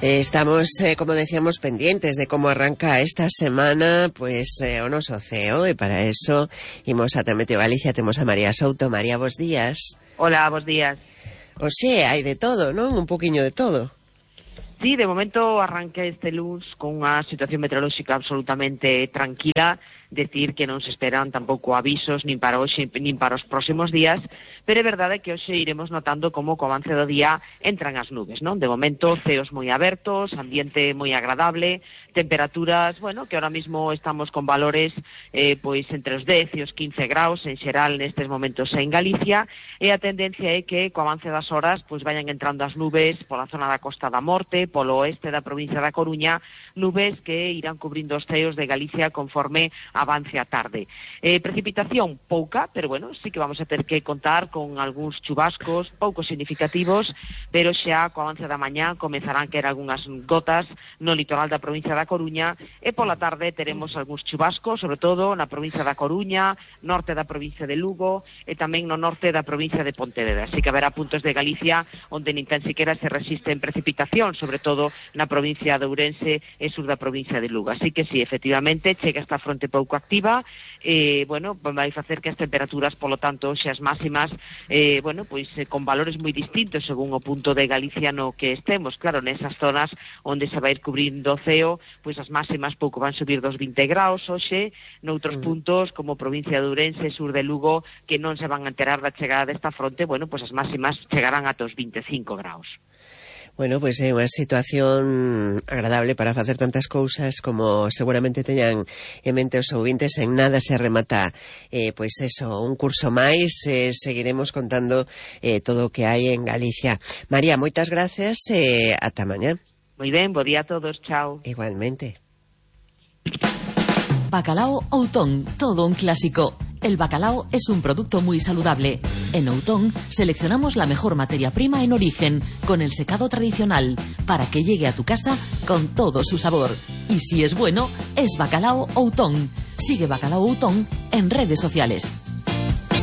Estamos, como decíamos, pendientes de cómo arranca esta semana, pues, o noso ceo, e para eso imos ata Meteo Galicia, temos a María Souto. María, bos días. Hola, bos días. Oxe, hai de todo, non? Un poquinho de todo. Sí, de momento arranca este luns con unha situación meteorolóxica absolutamente tranquila, decir que non se esperan tampouco avisos nin para hoxe nin para os próximos días, pero é verdade que hoxe iremos notando como co avance do día entran as nubes, non? De momento ceos moi abertos, ambiente moi agradable, temperaturas, bueno, que ahora mismo estamos con valores pois entre os 10 e os 15 graus en xeral nestes momentos en Galicia, e a tendencia é que co avance das horas pois vayan entrando as nubes pola zona da Costa da Morte, polo oeste da provincia da Coruña, nubes que irán cubrindo os ceos de Galicia conforme avance a tarde. Precipitación pouca, pero bueno, sí que vamos a ter que contar con algúns chubascos pouco significativos, pero xa co avance da mañá comezarán a caer algunhas gotas no litoral da provincia da Coruña, e pola tarde teremos algúns chubascos, sobre todo na provincia da Coruña, norte da provincia de Lugo e tamén no norte da provincia de Pontevedra. Así que haberá puntos de Galicia onde nin tan siquiera se resisten precipitación, sobre todo na provincia de Ourense e sur da provincia de Lugo. Así que sí, efectivamente, chega esta fronte pouco activa, bueno, vai facer que as temperaturas, polo tanto, xe as máximas, bueno, pois con valores moi distintos según o punto de Galicia no que estemos. Claro, nesas zonas onde se vai ir cubrindo o ceo, pois as máximas pouco van subir dos 20 graus hoxe, noutros puntos, como provincia de Ourense, sur de Lugo, que non se van a enterar da chegada desta fronte, bueno, pois as máximas chegarán ata os 25 graus. Bueno, pois é unha situación agradable para facer tantas cousas como seguramente teñan en mente os ouvintes. En nada se remata, pois eso, un curso máis, seguiremos contando todo o que hai en Galicia. María, moitas gracias e ata mañá. Moi ben, bo día a todos, chao. Igualmente. Bacalao Outón, todo un clásico. El bacalao es un producto muy saludable. En Outón seleccionamos la mejor materia prima en origen, con el secado tradicional, para que llegue a tu casa con todo su sabor. Y si es bueno, es Bacalao Outón. Sigue Bacalao Outón en redes sociales.